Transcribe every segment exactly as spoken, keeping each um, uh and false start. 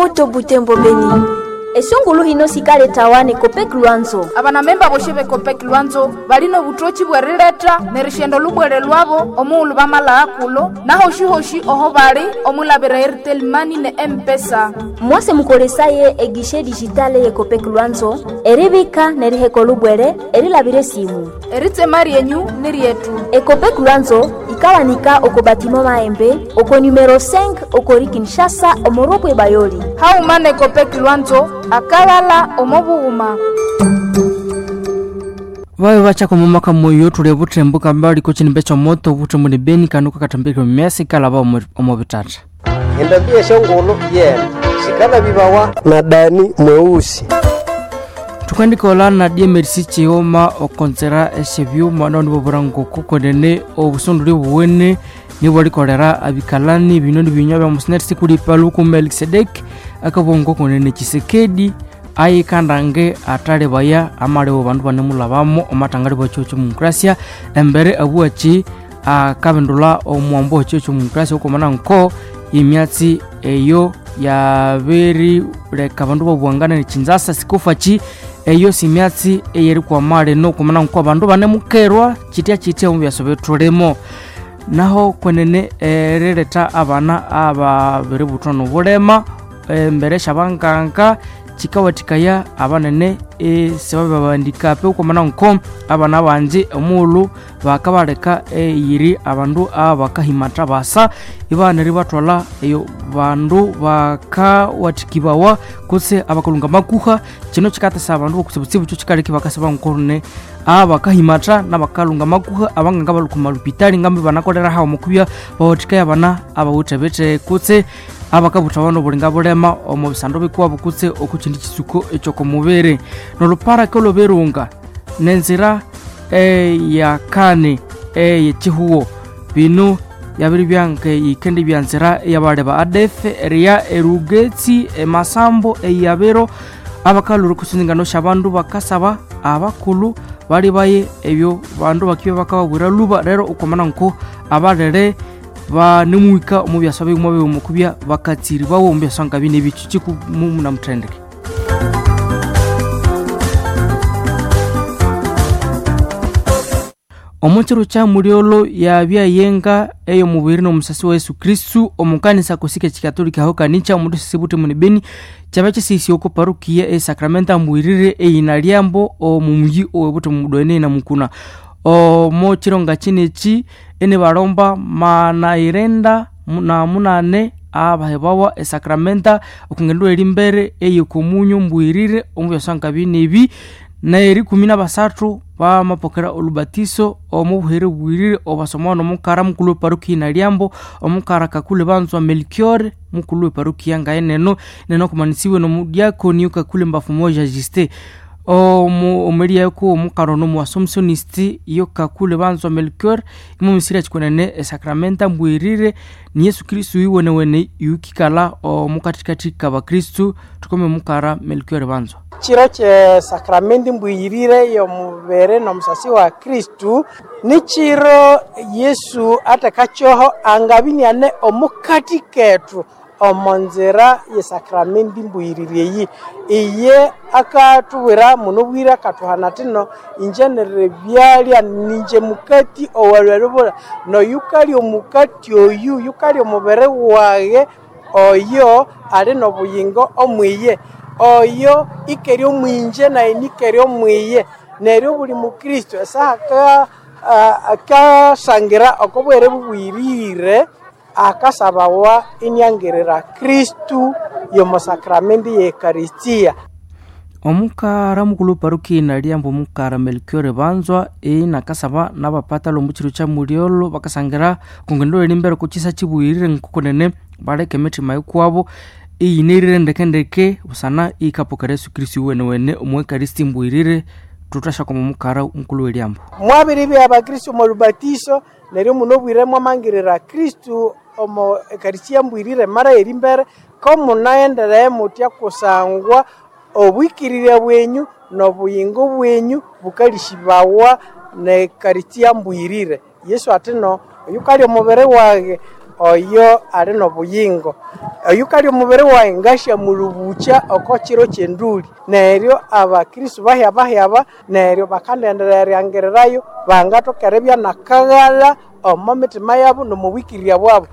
Moto Butembo Beni. Esungulu hino sikaletawa ne Copec Lwanzo. Abanamemba boshe be Copec Lwanzo balina obutoki bwerileta nerishendo lubwere lwabo omughulhu bamala kulo nahoshihoshi oho bali omulabira Airtel Money ne M-Pesa. Mwase mukolesaye egishe digitale ye Copec Lwanzo eribika neriheka olubwere erilabira esimu. Eritsema ryenyu ni ryetu. Ecopec Lwanzo ikawanika oko batimo maembe oko numero cinq okori Kinshasa omoropwe Bayoli. Hauma ne Copec Lwanzo akalala omo bughuma. Vayo vachaka mumaka moyo tuli butembo kambali kuchinimbe chomoto butembo ni beni kanuka katambikire mumyasi kalava omo bitata. Endambi eshongolo yena sikala bibawa na dani mweusi. Tukandikola na D M R C chioma okonzera eshebyuma noni bobura ngoko konene obusunduli buwene nibo likolera abikalani bino ni binywa bya musineti sikulipa luku Melkisedek akabongo konene Chisekedi ayikandange atale baya amalewo bandu banemulabamo omatangale bwa chocho demokrasia embere abuachi akabendula omwambo wa chocho demokrasia okomana nko imyatsi eyo yabiri leka bandu babuangana ni Chinzasa sikufachi eyo simyatsi eyeri kwamale nokumana nko bandu banemukerwa chitya chitya omubyaso betulimo naho kwenene erileta abana ababiri buthwa nobulema embere syabanganga chikawathikaya abanene esibababandikape okwamana nko abana banji omughulhu bakabaleka eyiri abandu abakahimatha basa ibana eribathwalha eyo bandu bakawathikibawa kutse abakalunga makuha. Kino kikatesa abandu bokutsibutsibu kyo kikaleka ibakasaba nkorune abakahimatha nabakalunga makuha abanganga balhuka omalupitali ngambi banakolera hawo mukubya bawathikaya abana abawithe kutse abakabutha abana obulinga bulema omu bisando bikuwabo kutse okukindi kisuko ekyokomubiri noluparaka olweberunga nenzira eyakane eyekihuwo bino yabiri byange yikendi byanzira eyabaleba A D F eriya erugetsi emasambo eyabero abakaluru kusindingano syabandu bakasaba abakulhu bali baye ebyo bandu bakibya bakababwira luba rero okwamana nko abalere banemuhika omu byaswa bighuma bighuma okubya bakatsiribawo omu byaswa nga bino ebikyo kikumuna muthendeke. Omukiro kya mulyolo yabya yenga ey'omubiri n'omusasi wa Yesu Kristu omukanisa kosika ekikatolika aho kanicha omundu sisi muni Beni kyabya kisisi oko parukia esakramenta mbwirire eyina lyambo omu muyi ow'ebutembo mudwene na mukuna omo chironga chineki ene balomba mana irenda na munane abahebawa esakramenta okungendo eri mbere eyekomunyo mbwirire omu byaswa bino ebi na ikumi na basathu bamapokera olubatiso omu buhere bwirire obasomawa nomukara mukulu weparukia nalyambo omukara Kakule Banzwa Melchior mukulu weparukia ngaye neno neno kumanisiwe nomudiakoni Kakule Mbafu Moja Justin omu omeliako omukara ono muassumptionist iyo Kakule Banzwa Melchior imumisira chikonene esakramenta mbwirire ni Yesu Kristu iwenewene yukikala omukathikathi kabakristu. Tukome mukara Melchior Banzwa. Chiro kye sakramenti mbwirire y'omubere n'omusasi wa Kristu ni chiro Yesu atekakyoho angabiniane omukati kethu omo nzira ye sakramenti mbwirire eyi iye akatubwira muno bwire akatuhana atino inje nere byalya ninje mukati owalwalubula noyukalya omukati oyu yukalya omubere waghe oyo ali n'obuyingo omwiye oyo ikeri omwinje naye nikeri omwiye. Neryo buli mukristo esaha akasangira okobwere bubwirire akasabawa iniangirira Kristu yomo sakramenti ye Ekaristia. Omukara mukulu parukia nalyambo omukara Melchior Banzwa inakasaba nabapatalo omu kiro kya mulyolo bakasangira okungendo eri mbere okukisa kibwirire nkokunene baleka emitima yokwabo iyinirire ndekendeke busana ikapokera Yesu Kristu iwenewene omu Ekaristi mbwirire. Tuthashakoma omukara mukulu welyambo. Mwabiri bya abakristu omo lubatiso neryo muno bwire mwamangirira Kristu omo Ekaristia mbwirire mara eri mbere ko munaendereye mutya kusangwa obwikirire bwenyu n'obuyingo bwenyu bukalishibawa ne Ekaristia mbwirire. Yesu atino oyukalya omubiri wage oyo ali n'obuyingo. Oyu kali omubiri wayi ngashamulubukya oko kiro ky'enduli. Neryo abakristo bahyabahyaba neryo bakandenderera eryangirirayo bangathoka eribya nakaghala omo mitima yabo n'omubwikirya bwabo.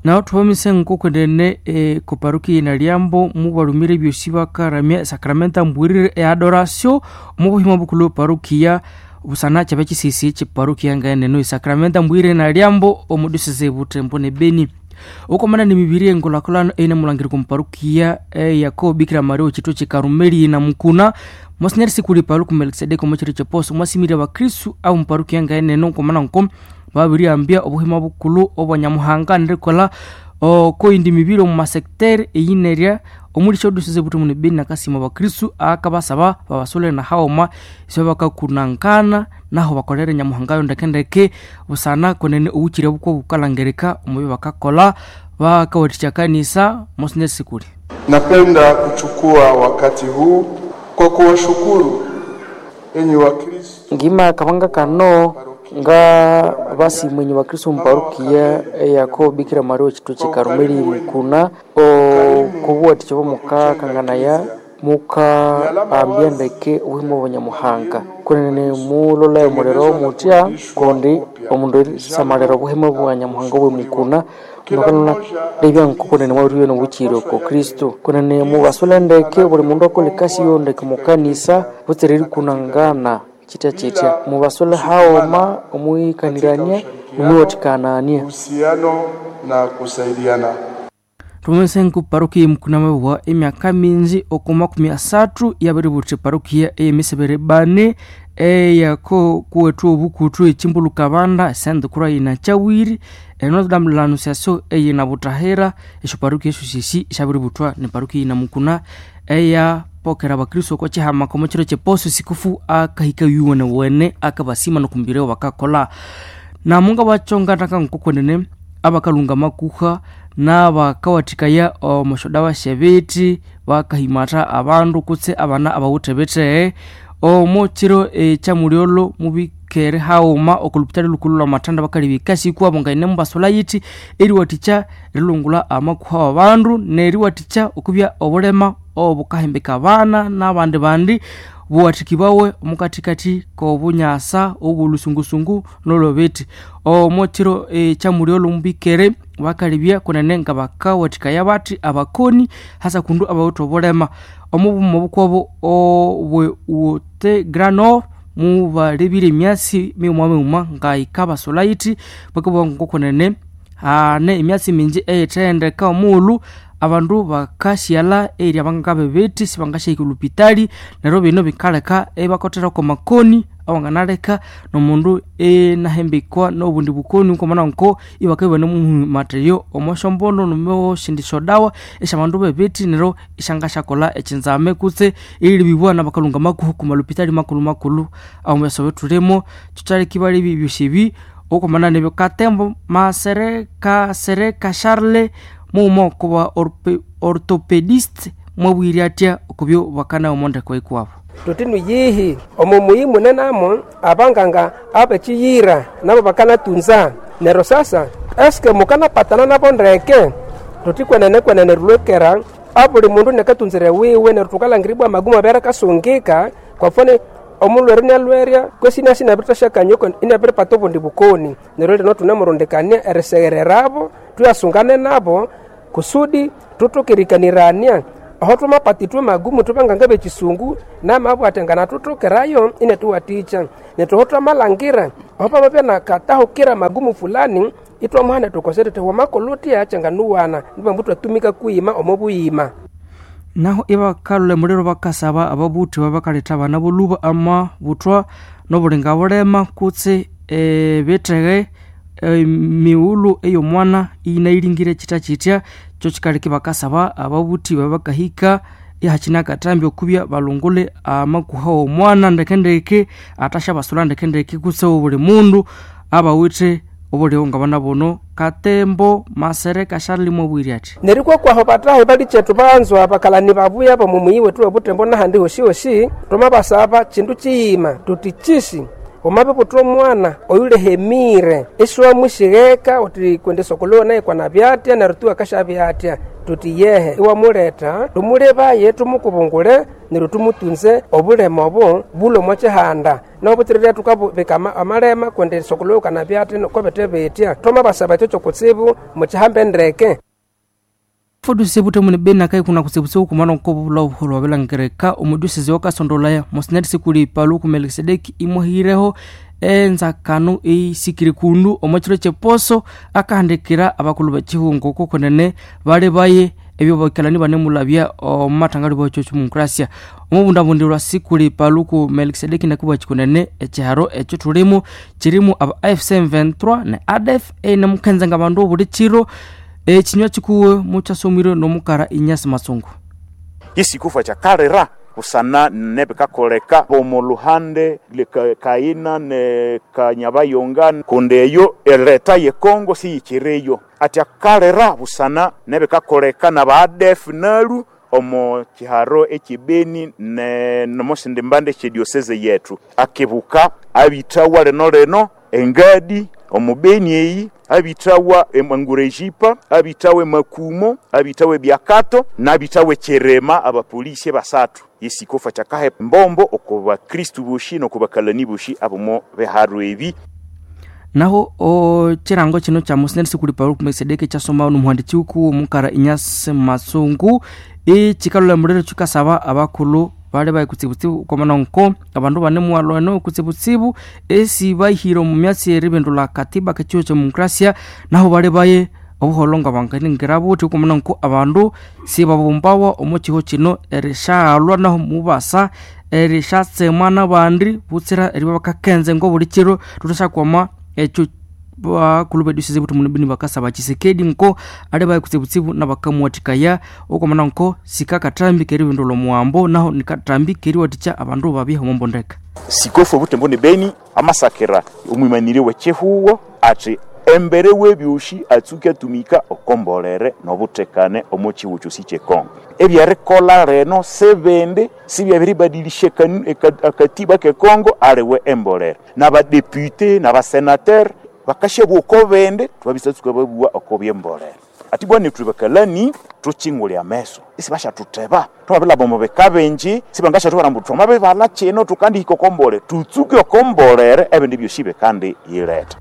Naho thubamise nkokwendene e, koparukia Nalyambo mubalumire ebyosi bakaramya esakramenta mbwirire e adoration omu buhima bukulhu parukia busana kyaba kisisi kyeparukia ngaeneno esakramenta mbwirire Nalyambo omu diocese Butembo ne Beni. Okomana ni mibiri engulhakulhano eine mulangiri komuparukia eyako Bikira Maria okitwe kye na Mukuna Monsignor Sikuli Paluku Melkisedeki omu kiro kyeposo mwasimire abakristu abomuparukia ngaeneno nkomana nko babirihambya obuhima bukulhu obwa Nyamuhanga nerikolha okoyindi mibiri omu masekiteri eyinerya omuli syodiocese Butembo ne Beni nakasima abakristu akabasaba babasule na haghuma isyo bakakunankana naho bakolere Nyamuhanga yo ndekendeke busana kwenene obukyire bukwo bukalangirika omu byabakakolha bakawathikya kanisa Monsignor Sikuli. Napenda kuchukua wakati huu kwa kuwashukuru enyi Wakristo ngima akabanga kano nga basimwenyi bakristo muparukiya eyako Bikira Maria okitwe kye Karumeli Mukuna okubuwathikya bwamukakanganaya mukaambya ndeke obuhima bwa Nyamuhanga kunene mulolayo omuliro mutya kundi omundu erisamalira obuhima bwa Nyamuhanga obwe Mukuna mukalona lebya nkokunene mwabiribya nobukyire oko Kristo kunene mubasule ndeke buli mundu akola ekasi yo ndeke mukanisa butsira erikunangana chitya chitya mubasule haoma omwikanirania nomwiwathikanania uhusiano na kusaidiana. Tumese nku parukia Mukuna mabwa emyaka mingi oku makumi asathu yabiributhi parukia eyemisebere bane eyako kuwethu obukuthu echimbuluka banda esendukura yina chawiri Notre Dame de l'Annonciation eyina butahira esyo parukia esyo sisi syabiributhwa ni parukia yina Mukuna eya pokera abakristo oko chihama komo chiro cheposo sikufu akahika yuwene wene akabasima nokumbireo bakakola namunga bachonga taka nkokwenene abakalunga makuha n'abakawathikaya omusyoda basyebiti bakahimatha abandu kutse abana abawithe bithee omo kiro ekyamulyolho mubikere haghuma okulupitali lukulhu lwa bakalebya ekasi kwabo ngaine mubasula yithi eriwathikya erilungula amakuha w'abandu neriwathikya okubya obulema obukahimbika abana n'abandi bandi buwathikibawe omukathikathi k'obunyasa obw'olusungusungu n'olwebithi omo kiro ekyamulyolho mubikere bakalebya kunene nga bakawathikaya bathi abakoni hasa kundu abawithe obulema omubuma bukwabo obwe wote grano mubalebire emyasi mighuma mighuma ngayikabasolha yithi bakabugha ngokunene hane emyasi mingi eyithendeka omughulhu abandu bakasyalha erya bangabebethi sibangasyahika olhupitali neryo bino bikaleka ibakothera kwamakoni awanganaleka nomundu inahimbikwa nobundi bukoni nkomana nko ibakabya ibanemuhimatheyo omwasyombondo nomwasindi syodawa esyabandu bebithi neryo isyangasyakolha ekyinzame kutse erilebibwa nabakalunga makuhu kumalupitali makulhu makulhu awomubyaso thulimo kyokyaleka ibalebya ebyosi ebi okwamana nebyo Katembo Masereka Sereka Charles mughuma okuba orthopedist mwabwire atya okubyo bakana omondeko ikwabo tuti nuyihi omo muyi munenamo abanganga abekiyira nabo bakanatunza nero sasa eske mukanapatana nabo ndeke tuti kwenene kwenene rilwekera abuli mundu nekatunzire wiwe neryo tukalangiribwa amagumu abere kasungika kwa mfano omulwere inalwerya kwesi inasi inabirithasyakanyoka inabiripata obundi bukoni neryo lino thunemurundikania eriseghererabo thuyasungane nabo kusudi thuthokerikanirania aho thwamapata ithwe magumu thubanganga bekisungu namabwa athi nganathuthokerayo inathuwathikya nethu aho thwamalhangira aho pamabya nakatahukira magumu fulani ithwamuhana thukose thuthi wamakolha uthya kyanganuwana nibambu thwatumika kuyima omo buyima naho ibakalhula emuliro bakasaba ababuthi babakaletha abana boluba amabuthwa nobulinga bulema kutse ebitheghe emighulhu ey'omwana iyinayilingire kyithya kyithya kyo kyikaleka ibakasaba ababuthi babakahika ihakine akatambi okubya balungule amakuha w'omwana ndekendeke athasyabasulha ndekendeke kutse obuli mundu abawithe obuliho ngabana buno Katembo Masereka Charles mwabwire athi neryo kwakwaho batahi balichethu banzwa bakalani babuya bomu muyi wethu webutembo nahandi hoshihoshi twamabasaba chindu chiyima tuti chisi Wamabibuthwa omwana oyulehemire isiwamushigeka uthi kundi sokulu naye kwanabya atya neryo tu akashabya atya, tuti yehe iwamuletha tumulebaye tumukubungule neryo tumutunze obulema obo bulwe omo kihanda nobutsirire tukabika amalema kundi sokulu kanabya athi kobete bitya. Twamabasaba ekyo kyokutsibu mukihambe ndeke. Foduse bute mune bena kai kuna kusebusebu kumana nko bula obuholo wabelangereka omuduseze wakasondolaya mosinari sikuli paluku Melkisedeki imwahireho enzakano eisikiri kundu omwekiro kyeposo akahandikira abakulu bekihungo kokonene bali baye ebyo bakalani banemulabya omumathangali bwekyo kyomukurasia omubundabundirwa sikuli paluku Melkisedeki nakubwa kikunene ekiharo ekyo thulimu kirimu aba F C M twenty-three ne A D F enemukhenza nga bandu obuli kiro ekinywa kikuwe mukyasomire nomukara Inyasi Masungu. Isikufa kyakalira busana nebikakoleka omu luhande kaina ne kanyabayonga kundi eyo ereta ye Kongo siyikireyo ati akalira busana nebikakoleka na ba A D F nalu omu kiharo ekibeni ne nomosindi mbande ekyedioseze yetu akibuka abitawa leno leno engadi omubeni eyi abitawa emangurejipa abitawa emakumo abitawa ebyakato nabitawa ekyerema abapolisi basatu. Isikofa kyakahe mbombo okuba Kristu bushi nokubakalani bushi abomo beharu ebi. Naho o chirango chino cha Mosinari sikuli paluku Melkisedeki kyasoma nomuhandiki wuku omukara Inyasi Masungu ekikalula muliro kikasaba abakulu bali bayi kutsibutsibu komana nko abandu banemuwalwano kutsibutsibu esi bahira omu myatsi eribindula katiba kekihugho kyemukurasia naho bali baye obuholo nga banganingira buthi komana nko abandu sibabumbawa omu kihugho kino erishaghalwa naho mubasa erishatsemwa nabandi butsira eribya bakakenze ngobuli kiro thuthakwama ekyo bakulu bedusize buthi munibini bakasaba Tshisekedi nko ali baye kutsibutsibu nabakamuwathikaya okomana nko sikakathambi keribindula omuwambo naho nikathambi keriwathikya abandu babye omumbondeka. Sikofu butembo ni beni amasakira omwimaniri w'ekihugo ati embere w'ebyoshi atsuke atumika okombolere n'obutekane omu kihugo kyosi ky'ekongo. Ebyerikola reno sebende sibyabiribadilisha akatiba k'ekongo aliwe embolere n'abadepute n'abasenateur bakashabwa oko bende twabisatsuka babua oko byembolere. Ati bwana tuli bakalani tuchingulya ameso isi bashatuteba twabila bomo bekabenji sibangashatubara mbu twamabibala kino tukandihika okombole tutsuke okombolere ebindi byoshibe kandi yileta.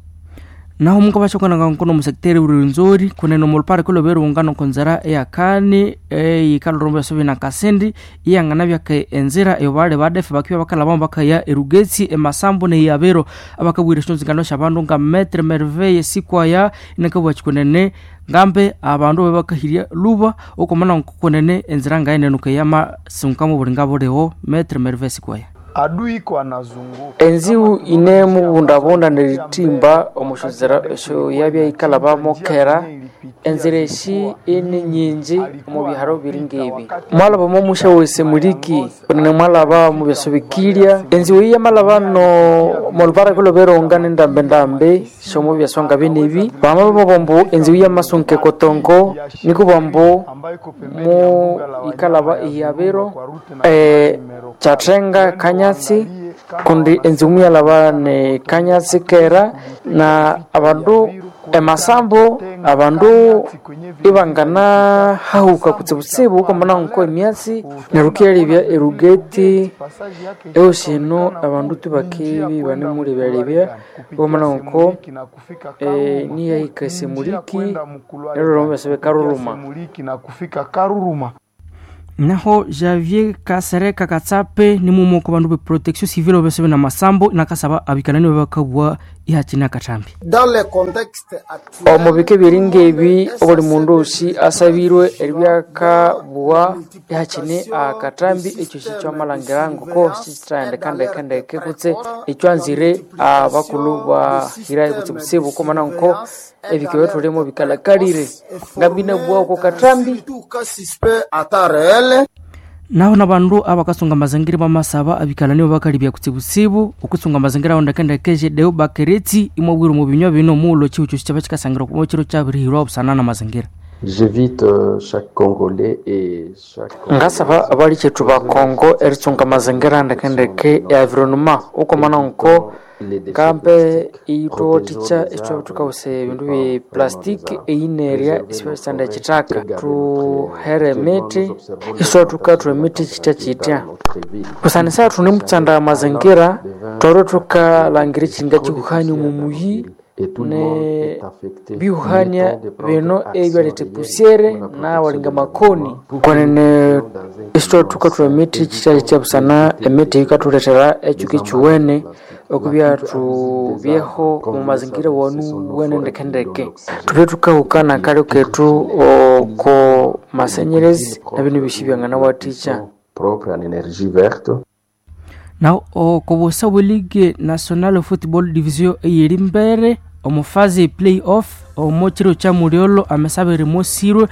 Naho mungu bashokananga nkono musekiteri Rwenzori kunene omulupare kuloberungano konzera eyakani eyikalorombo yasobi na kasindi iyangana byake enzira eyo bale badefe bakibya bakalabamo bakaya erugetsi emasambu neyabero abakabwira eshinzingano syabandu nga Maître Merveille Sikwaya inakabwa kikunene ngambe abandu bebakahirya luba okomana nkokunene enzira ngayenenuka yamasunkamu buli ngabuliho Maître Merveille Sikwaya. Adui ko anazunguka enziu ine mubundabunda neritimba omushozera esyo yabya ikalabamo kera enzira eshi ini nyinji omu biharo biri ngebi mwalabamo omusha wese muliki kunene mwalaba mu byaso bikilya enziu eyi yamalaba no molupara kuloberonga nendambendambe shomu byaso nga binebi bama bambu enziu yamasunka ekotongo nikubambu mu ikalaba iyabiro eh, kyathenga kanya kundi enziu muyalaba ne kanyatsi kera na abandu emasambu abandu ibangana hahuka kutsibutsibu ukamana nko emyatsi nerukyalebya erugeti eosino abandu tubakebi banemulebyalebya ukamana nko e, niyahika esemuliki neruroma byasebe karuruma. Naho Javier Kasereka Katsape ni mumo ku bandu be protection civile obesebe na masambo nakasaba abikanani babakabwa ihachina katambi. Omu bika biri ngebi obuli mundu osi asabirwe eribyakabwa ihachine akatambi ekyo sikyamalhangira ngoko sikithaghenda ndeke kutse ekyanzire abakulu bahira kutsibutsibu komana nko ebika byathulimu bikalakalire ngabinabwa oko katambi. Naho nabandu abakasunga mazingira bamasaba abikalani bakalibya kutsibutsibu okusunga mazingira aho ndekendeke Deo Bakeretsi imwabwira mu binywa bino mulo chiucho kyaba kikasangira ku kiro kyabirihirwa obusana na mazingira. J'évite chaque Congolais et chaque Ngasaba abalikyetu ba Kongo eritsunga amazingira ndekendeke e environnement ukomana nko kambe iyithuwathikya ithwabya thukawusa ebindu bye plastic eyinerya isibasanda ekithaka thuhere emiti iswathukathwa emiti kyitya kyitya busanisa thunemutsanda amazingira twalwe thukalhangira ekyinga kikuhania omu muyi ne bihuhania bino ebyaletha epusyere nawalinga makoni kwenene isithwathukathwa emiti kyitya kyitya busana emiti yikathulethera ekyuka ekyuwene okubya thubyeho omu mazingira wanu wene ndekendeke thubye thukahukana akalyo kethu oko masenyerezi nabino ebyosi byanganawathikya propre en énergie verte. Na okobusa bwe Ligue Nationale Football Division eyeri mbere omu faze play-off omu kiro kya mulyolo amesabiri mosirwe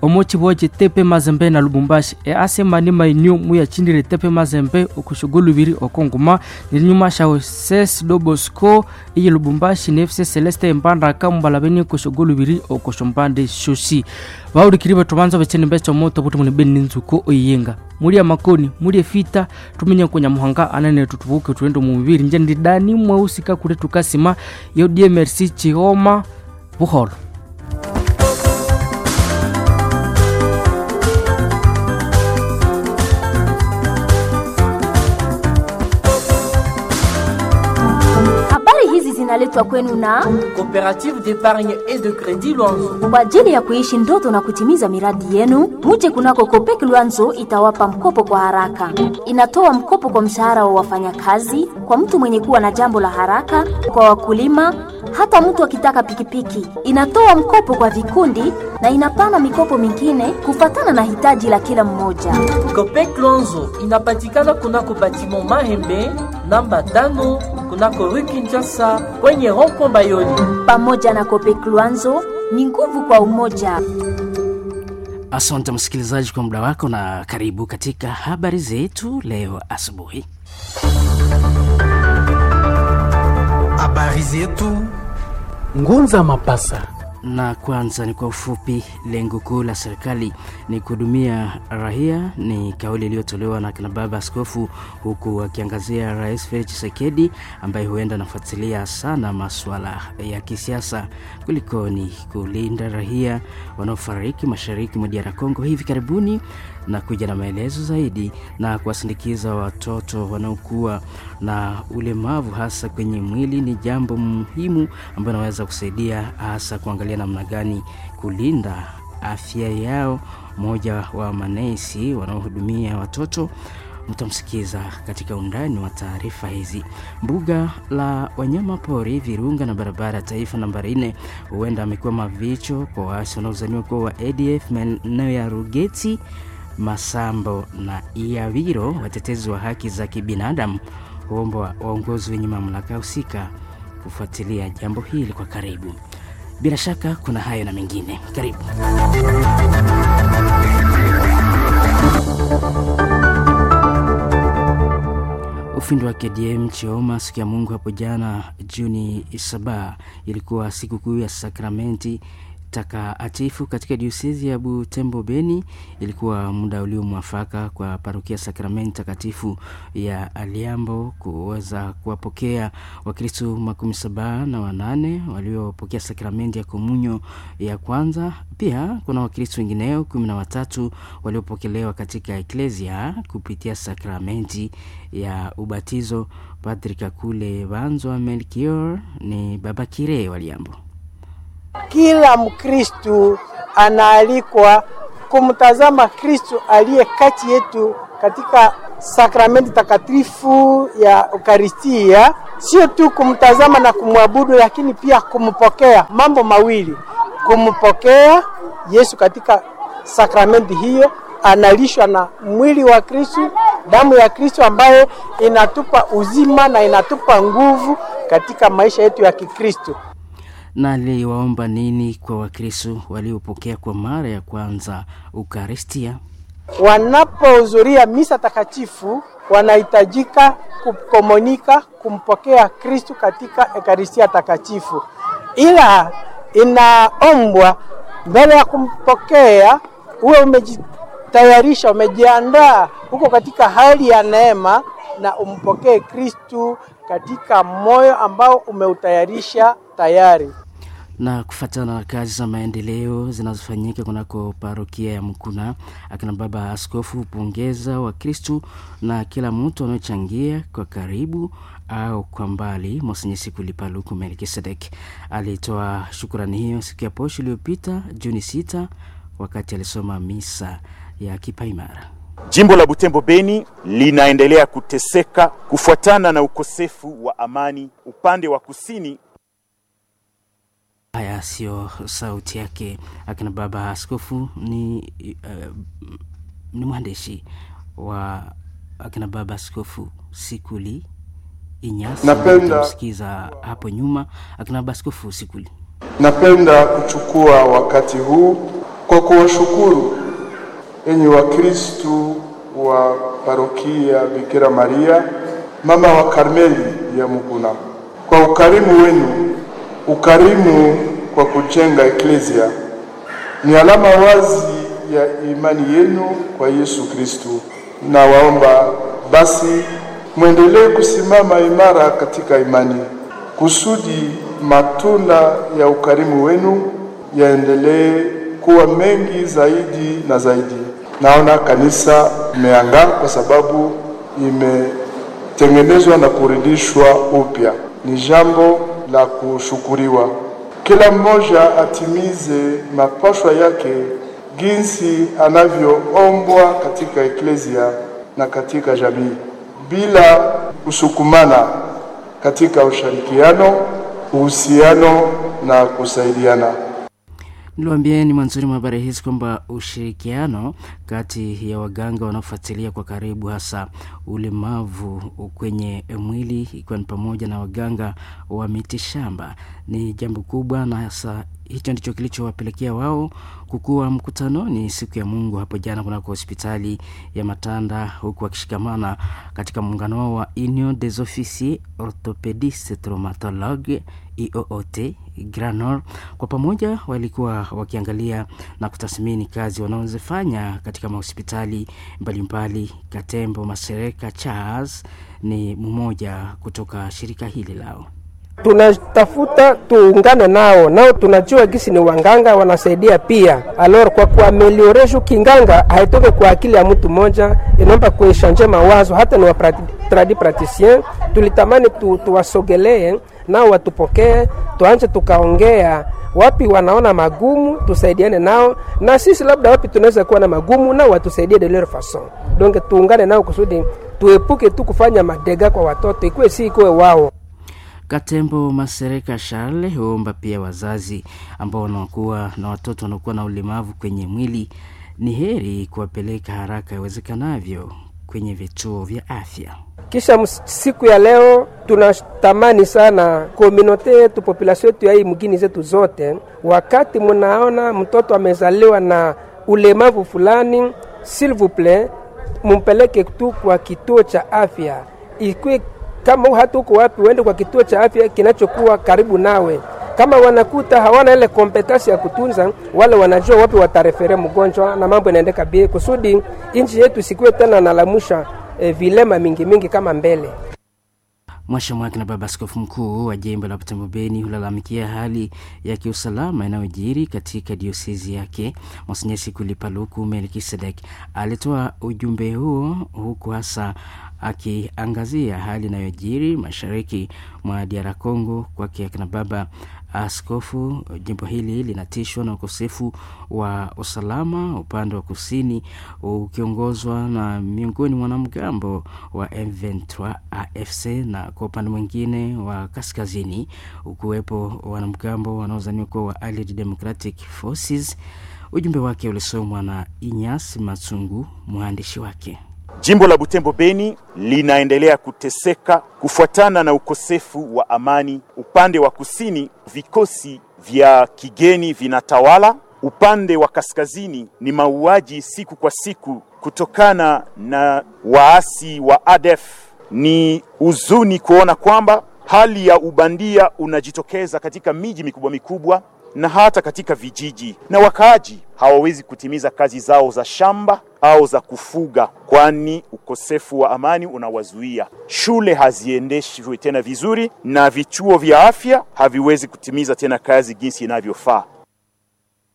omu kibwa kitepe Mazembe na Lubumbashi e asemani mainyu muyachindire tepe Mazembe okushugulu biri okonguma ninyuma shawo ses Dobosco iyi Lubumbashi ne F C Celeste Mbandaka mbalabeni okushugulu biri okoshombande shoshi bawulikiri betubanza becheni becho moto buti muni beni nzuko oyiyenga muri amakoni muri efita tumenye kunyamuhanga anene tutubuke tuende mu mubiri nje ndidani mweusika kule tukasima yo D M R C Chihoma buholo. Habari hizi zinaletwa kwenu na Coopérative d'épargne et de crédit Luanzo. Kwa ajili ya kuishi ndoto na kutimiza miradi yenu, muje kunako Copec Luanzo itawapa mkopo kwa haraka. Inatoa mkopo kwa mshahara wa wafanyakazi, kwa mtu mwenye kuwa na jambo la haraka, kwa wakulima, hata mtu akitaka pikipiki. Inatoa mkopo kwa vikundi na inapana mikopo mingine kufatana na hitaji la kila mmoja. Copec Luanzo inapatikana kunako batiment Mahembe namba tano kunako rue Kinshasa kwenye rond-point Bayoni. Pamoja na Copec Luanzo ni nguvu kwa umoja. Asante msikilizaji kwa muda wako na karibu katika habari zetu leo asubuhi. Habari zetu Ngunza Mapasa. Na kwanza ni kwa ufupi, lengo kuu la serikali ni kuhudumia raia, ni kauli iliyotolewa na kina baba askofu, huku akiangazia Rais Felix Tshisekedi ambaye huenda anafuatilia sana masuala ya kisiasa kulikoni kulinda raia wanaofariki mashariki mwa D R Congo hivi karibuni, na kuja na maelezo zaidi na kuwasindikiza watoto wanaokuwa na ulemavu hasa kwenye mwili ni jambo muhimu ambalo naweza kusaidia hasa kuangalia namna gani kulinda afya yao. Mmoja wa manesi wanaohudumia watoto mtamsikiza katika undani wa taarifa hizi. Mbuga la wanyama pori Virunga na barabara ya taifa nambari nne huenda amekuwa mavicho kwa waasi wanaozaniwa kuwa wa A D F maeneo ya Rugeti, Masambo na Iawiro. Watetezi wa haki za kibinadamu huomba waongozi wenye mamlaka husika kufuatilia jambo hili kwa karibu. Bila shaka kuna hayo na mengine, karibu. Ufundi wa K D M Chioma siku ya Mungu hapo jana Juni saba ilikuwa sikukuu ya sakramenti takatifu katika diosezi ya Butembo Beni. Ilikuwa muda uliomwafaka kwa parokia sakramenti takatifu ya Aliambo kuweza kuwapokea Wakristo makumi saba na wanane waliopokea sakramenti ya komunyo ya kwanza. Pia kuna Wakristo wengineo kumi na watatu waliopokelewa katika eklesia kupitia sakramenti ya ubatizo. Padri Kakule Banzwa Melchior ni baba kire wa Liambo. Kila Mkristu anaalikwa kumtazama Kristu aliye kati yetu katika sakramenti takatifu ya Eukaristia, sio tu kumtazama na kumwabudu, lakini pia kumpokea. Mambo mawili, kumpokea Yesu katika sakramenti hiyo, analishwa na mwili wa Kristu, damu ya Kristu ambayo inatupa uzima na inatupa nguvu katika maisha yetu ya Kikristu. Na aliwaomba nini kwa Wakristo waliopokea kwa mara ya kwanza Ukaristia? Wanapohudhuria misa takatifu wanahitajika kukomunika, kumpokea Kristu katika Ekaristia takatifu, ila inaombwa Mbele ya kumpokea uwe umejitayarisha, umejiandaa, uko katika hali ya neema, na umpokee Kristu katika moyo ambao umeutayarisha tayari. Na kufuatana na kazi za maendeleo zinazofanyika kunako parokia ya Mukuna, akina baba askofu hupongeza Wakristu na kila mtu anayechangia kwa karibu au kwa mbali. Monsenye Sikuli Paluku Melkisedek alitoa shukurani hiyo siku ya posho iliyopita Juni sita wakati alisoma misa ya kipaimara. Jimbo la Butembo Beni linaendelea kuteseka kufuatana na ukosefu wa amani upande wa kusini. Haya siyo sauti yake akina baba askofu, ni, uh, ni mwandishi wa akina baba askofu Sikuli Inyasi. Napenda Msikiza hapo nyuma akina baba askofu Sikuli. Napenda kuchukua wakati huu kwa kuwashukuru enyi Wakristu wa parokia Bikira Maria mama wa Karmeli ya Mukuna kwa ukarimu wenu. Ukarimu kwa kujenga eklesia ni alama wazi ya imani yenu kwa Yesu Kristu, na waomba basi mwendelee kusimama imara katika imani, kusudi matunda ya ukarimu wenu yaendelee kuwa mengi zaidi na zaidi. Naona kanisa imeangaa kwa sababu imetengenezwa na kurudishwa upya. Ni jambo la kushukuriwa. Kila mmoja atimize mapashwa yake jinsi anavyoombwa katika eklesia na katika jamii, bila kusukumana, katika ushirikiano, uhusiano na kusaidiana. Niliwaambieni mwanzoni mwa habari hizi kwamba ushirikiano kati ya waganga wanaofuatilia kwa karibu hasa ulemavu kwenye mwili ikiwa ni pamoja na waganga wa mitishamba ni jambo kubwa, na hasa hicho ndicho kilichowapelekea wao kukuwa mkutanoni siku ya Mungu hapo jana kunako hospitali ya Matanda, huku wakishikamana katika muungano wao wa Union des Officiers Orthopedistes Traumatologues I O O T Granor. Kwa pamoja walikuwa wakiangalia na kutathmini kazi wanazofanya katika mahospitali mbalimbali. Katembo Masereka Charles ni mmoja kutoka shirika hili lao. Tunatafuta tuungane nao, nao tunajua gisi ni wanganga wanasaidia pia. Alors kwa kuamelioresha kinganga haitoke kwa akili ya mtu mmoja, inaomba kueshanje mawazo hata ni wa tradi praticien. Tulitamani tu, tuwasogelee nao watupokee, tuanje tukaongea wapi wanaona magumu, tusaidiane nao, na sisi labda wapi tunaweza kuwa na magumu, nao watusaidie de leur façon. Donc tuungane nao kusudi tuepuke tu kufanya madega kwa watoto, ikuwe si ikuwe wao. Katembo Masereka Charles huomba pia wazazi ambao wanakuwa na watoto wanaokuwa na ulemavu kwenye mwili ni heri kuwapeleka haraka iwezekanavyo kwenye vituo vya afya. Kisha siku ya leo tunatamani sana komunote yetu, population yetu ya hii mgini zetu zote, wakati munaona mtoto amezaliwa na ulemavu fulani, s'il vous plait, mumpeleke tu kwa kituo cha afya, ikwe kama hata uko wapi, uende kwa kituo cha afya kinachokuwa karibu nawe. Kama wanakuta hawana ile kompetensi ya kutunza, wale wanajua wapi watarefere mgonjwa na mambo inaendeka bie, kusudi nchi yetu isikuwe tena nalamusha e, vilema mingi mingi kama mbele. Mwasha Mwaki na baba askofu mkuu wa jimbo la Butembo Beni hulalamikia hali ya kiusalama inayojiri katika diosezi yake. Monsenyer Sikuli Paluku Melkisedek alitoa ujumbe huo huku hasa akiangazia hali inayojiri mashariki mwa D R Congo. Kwake akina baba askofu, jimbo hili linatishwa na ukosefu wa usalama upande wa kusini ukiongozwa na miongoni mwa wanamgambo wa M ishirini na tatu A F C, na kwa upande mwingine wa kaskazini ukiwepo wanamgambo wanaozaniwa kuwa wa Allied Democratic Forces. Ujumbe wake ulisomwa na Inyas Matsungu, mwandishi wake. Jimbo la Butembo Beni linaendelea kuteseka kufuatana na ukosefu wa amani. Upande wa kusini vikosi vya kigeni vinatawala, upande wa kaskazini ni mauaji siku kwa siku kutokana na waasi wa A D F. Ni huzuni kuona kwamba hali ya ubandia unajitokeza katika miji mikubwa mikubwa. na hata katika vijiji, na wakaaji hawawezi kutimiza kazi zao za shamba au za kufuga, kwani ukosefu wa amani unawazuia. Shule haziendeshwi tena vizuri na vituo vya afya haviwezi kutimiza tena kazi jinsi inavyofaa.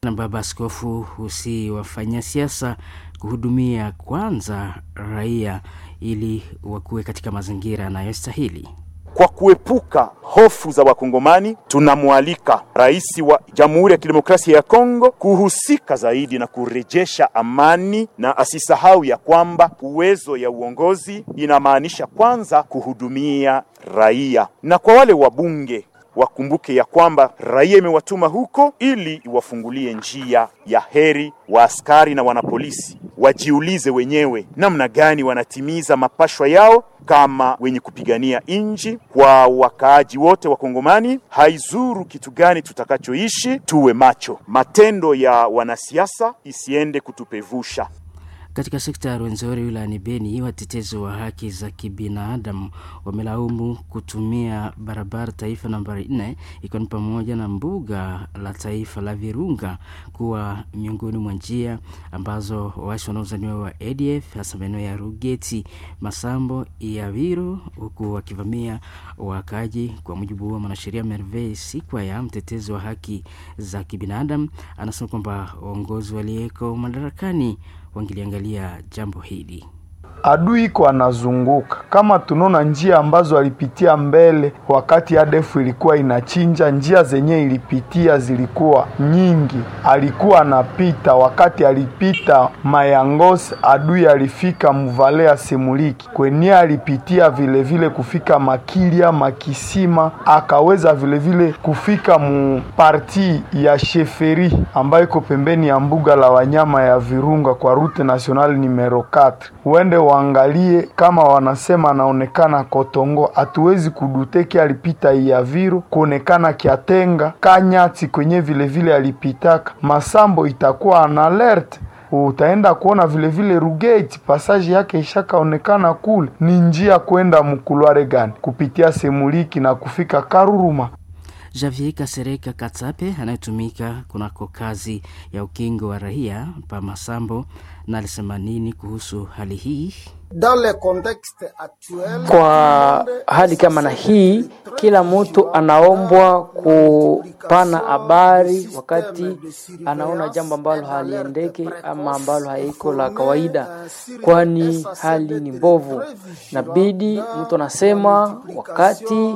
Na baba askofu husi wafanya siasa kuhudumia kwanza raia ili wakuwe katika mazingira yanayostahili. Kwa kuepuka hofu za Wakongomani, tunamwalika rais wa Jamhuri ya Kidemokrasia ya Kongo kuhusika zaidi na kurejesha amani, na asisahau ya kwamba uwezo ya uongozi inamaanisha kwanza kuhudumia raia, na kwa wale wabunge wakumbuke ya kwamba raia imewatuma huko ili iwafungulie njia ya heri. Wa askari na wanapolisi wajiulize wenyewe namna gani wanatimiza mapashwa yao kama wenye kupigania inji. Kwa wakaaji wote wa Kongomani, haizuru kitu gani tutakachoishi, tuwe macho, matendo ya wanasiasa isiende kutupevusha. Katika sekta ya Rwenzori wilayani Beni, watetezi wa haki za kibinadamu wamelaumu kutumia barabara taifa nambari nne ikiwa ni pamoja na mbuga la taifa la Virunga kuwa miongoni mwa njia ambazo waasi wanaozaniwa wa A D F hasa maeneo ya Rugeti, Masambo, Iaviro, huku wakivamia wakaaji. Kwa mujibu wa mwanasheria Merveille Sikwaya, mtetezi wa haki za kibinadamu, anasema kwamba uongozi waliyeko madarakani wangeliangalia jambo hili. Adui iko anazunguka, kama tunaona njia ambazo alipitia mbele wakati A D F ilikuwa inachinja, njia zenye ilipitia zilikuwa nyingi. Alikuwa anapita wakati alipita Mayangos, adui alifika Mvalea Semuliki kwenye alipitia vile vile kufika Makilia Makisima, akaweza vile vile kufika mu parti ya Sheferi ambayo iko pembeni ya mbuga la wanyama ya Virunga kwa route nationale numero quatre. Uende waangalie kama wanasema anaonekana Kotongo, hatuwezi kuduteki alipita Iaviro kuonekana Kiatenga Kanyati kwenye vile vile alipitaka Masambo, itakuwa an alert. Utaenda kuona vile vile Rugeti passage yake ishakaonekana kule, ni njia kwenda mkulware gani kupitia Semuliki na kufika Karuruma. Javier Kasereka Katsape anayetumika kunako kazi ya ukingo wa raia pa Masambo na alisema nini kuhusu hali hii? Kwa hali kama na hii, kila mtu anaombwa kupana habari wakati anaona jambo ambalo haliendeki ama ambalo haiko la kawaida, kwani hali ni mbovu. Nabidi mtu anasema wakati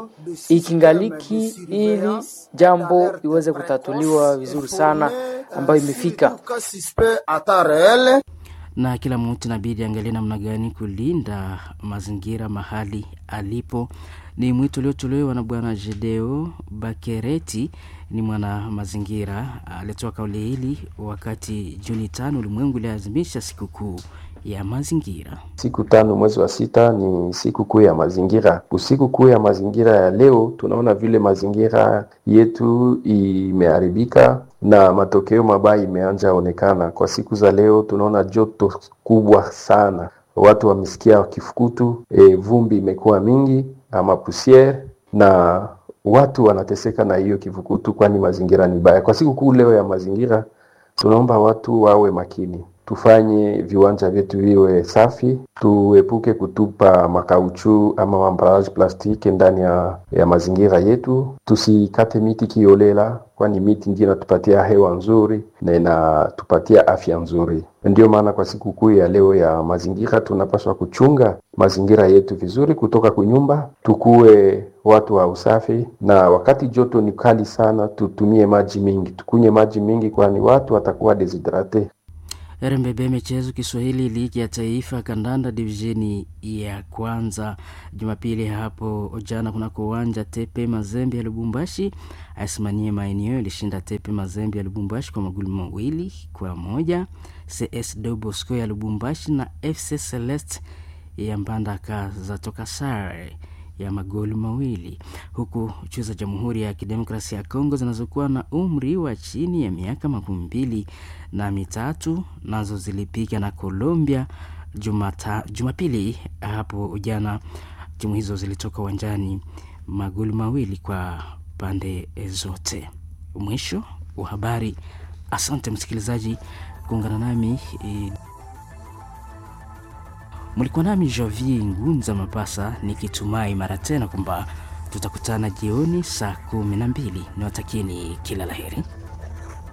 ikingaliki, ili jambo iweze kutatuliwa vizuri sana ambayo imefika. Na kila mtu inabidi angalie namna gani kulinda mazingira mahali alipo. Ni mwito uliotolewa na Bwana Jedeo Bakereti, ni mwana mazingira. Alitoa kauli hili wakati Juni tano ulimwengu uliadhimisha sikukuu ya mazingira. Siku tano mwezi wa sita ni siku kuu ya mazingira. Siku kuu ya mazingira ya leo, tunaona vile mazingira yetu imeharibika na matokeo mabaya imeanza onekana. Kwa siku za leo tunaona joto kubwa sana, watu wamesikia kifukutu, e, vumbi imekuwa mingi ama pusiere, na watu wanateseka na hiyo kifukutu, kwani mazingira ni baya. Kwa siku kuu leo ya mazingira, tunaomba watu wawe makini, tufanye viwanja vyetu viwe safi, tuepuke kutupa makauchu ama ambalage plastiki ndani ya, ya mazingira yetu, tusikate miti kiolela, kwani miti ndiyo inatupatia hewa nzuri na inatupatia afya nzuri. Ndio maana kwa siku kuu ya leo ya mazingira tunapaswa kuchunga mazingira yetu vizuri, kutoka kunyumba, tukue watu wa usafi, na wakati joto ni kali sana, tutumie maji mingi, tukunye maji mingi, kwani watu watakuwa deshydrate. R M B B Michezo Kiswahili, ligi ya taifa kandanda divisheni ya kwanza Jumapili hapo jana kunako uwanja Tepe Mazembe ya Lubumbashi, asimanie maeneo ilishinda Tepe Mazembe ya Lubumbashi kwa magoli mawili kwa moja. C S Dobosco ya Lubumbashi na F C Celeste ya Mbandaka zatoka sare ya magoli mawili, huku chuo za Jamhuri ya Kidemokrasia ya Kongo zinazokuwa na umri wa chini ya miaka makumi mbili na mitatu nazo zilipiga na Colombia Jumata, Jumapili hapo jana. Timu hizo zilitoka uwanjani magoli mawili kwa pande zote. Mwisho wa habari. Asante msikilizaji kuungana nami e, mlikuwa nami Javier Ngunza Mapasa nikitumai mara tena kwamba tutakutana jioni saa kumi na mbili. Niwatakieni kila laheri.